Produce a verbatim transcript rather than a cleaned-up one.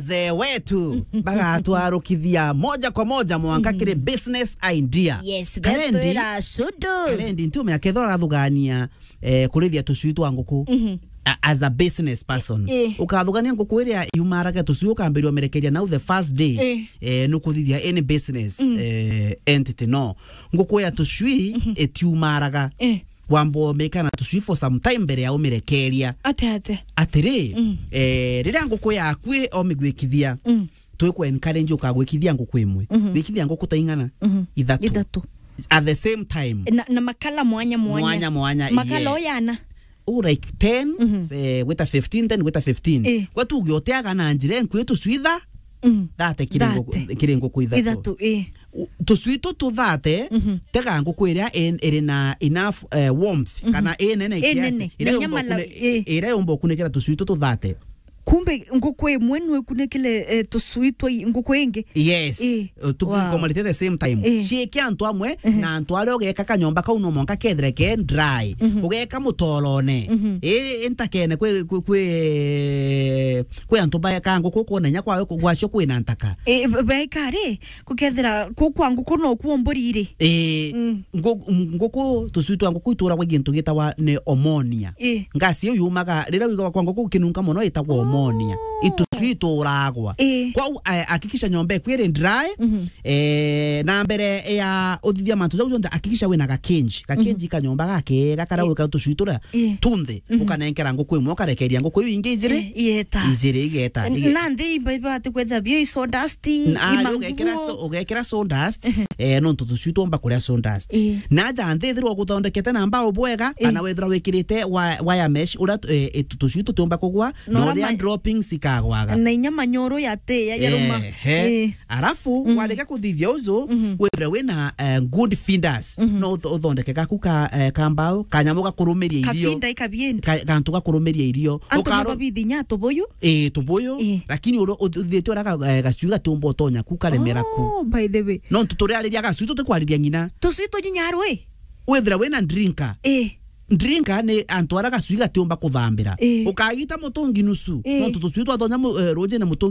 wazee wetu bagatwarukithia moja kwa moja mwanka kiri business idea. Yes, Karendi, betwira cudu. Karendi, ntiumenya kethira urathugania, eh, kurithia tucui twa nguku. Mhm. A-, as a business person. Eh. Ukathugania nguku iria yumaraga tucui, ukambiriria umerekeria nau the first day. Eh. Eh, nukuthithia any business, eh, entity, no. Nguku ya tucui itiumaraga. Eh. Wamba umikana tucui for some time mbere ya umirekeria. Ate, ate. Atiri, eh, riria nguku yaku i omigwikithia, mm, twiku encourage ukagwikithia nguku imwe. Mhm. Gwikithia nguku ta ing'ana? Mhm. Ithatu. Ithatu. At the same time. Na, na makala mwanya mwanya. Mwanya mwanya, makala, yeah, oyana. Oh, like ten, mhm, eh, gwita fifteen, ten gwita fifteen. Eh. Gwa tuge uteaga na njira enkui tucui tha-, mm, thate kiri nguku, thate, kiri nguku ithatu. Ithatu, eh. U-, tucui tutu thate, mhm, tega nguku iria in-, iri na enough, eh, warmth, mhm, kana inene, inene, kiasi, iria na yumba nyama la-, ukune-, eh, iria yumba ukunikira tucui tutu thate. Kumbe nguku imwe nwe ikunikile, eh, tucui twa i-, nguku ingi. Yes. Eh. Eh, tuku-, wow, ikomalite the same time. Eh. Ciike antu amwe, mhm, na antu aria ugeka kanyomba kau no mwanka kethire ke dry. Mhm. Ugeka mutorone. Mhm. Eh, intakene kwi, kwi, kwi, kwi antu baeka nguku kwona inya kwawe ku-, gwacio kwina ntaka. Eh, ba-, baeka ri, kukethira ku kwa nguku no kuo mburi iri. Eh, mm, ngu-, nguku, tucui twa nguku ituragwa gintu gitawa ni omonia. Ii. Ngasi iu yumaga, riria wigagwa kwa nguku gukinunka mono itagwa omonia. Oh. Itusui ituragwa. Ii. Kwou, eh, hakikisha nyomba eku iri dry, mhm, eh, na mbere ya uthithia mantu jau jonthe, hakikisha wina gakenji. Gakenji, mhm, kanyomba gakega karia, ii, wika tusui turia, ii, tunthe, mhm, ukanenkera nguku imwe, ukarekeria nguku iu ingi ijiri. Ii, igeta. Ijiri igeta. N-, ige- na nthi iba-, ibati kwetha bio i sawdust, na ari imanguo. Ugekira so-, ugekira sawdust, mhm, eh, nontu tusui tuomba kuria sawdust. Ii. Na aja nthi ithirwa uguthondekete na mbao bwega, ii, kana wethirwa wikirite wa-, wire mesh, uria tu-, eh, eh, tu-, tusui tutiumba kugwa, na uria ma-, droppings ikagwaga. Na inya manyoro yati ya, yaruma. Ehe. Ii. Arafu, mm, warega kuthithia uju, mhm, withire wina, eh, good feeders. Mhm. No utho-, uthondeke gaku ka, eh, ka mbao, kanyamu gakurumiria irio. Kabinda i kabinda. Ka-, gantu gakurumiria irio. Antu ukaro- mababithi nya tubuyu? Ii, tubuyu. Ii. Lakini uri-, uthithite uria ga-, eh, gacui gatiumba utonya ku karemera ku. Oh, by the way. Nontu turiariria gacui, tutikwariria ng'ina. Tucui tunyinyarwe? Withira wina drinker. Ii. Drinker ni antu aria gacui gatiumba kuthambira. Ii. Ukagita mutungi nusu. Ii. Nontu tucui twatonya mu-, eh, rujine mutungi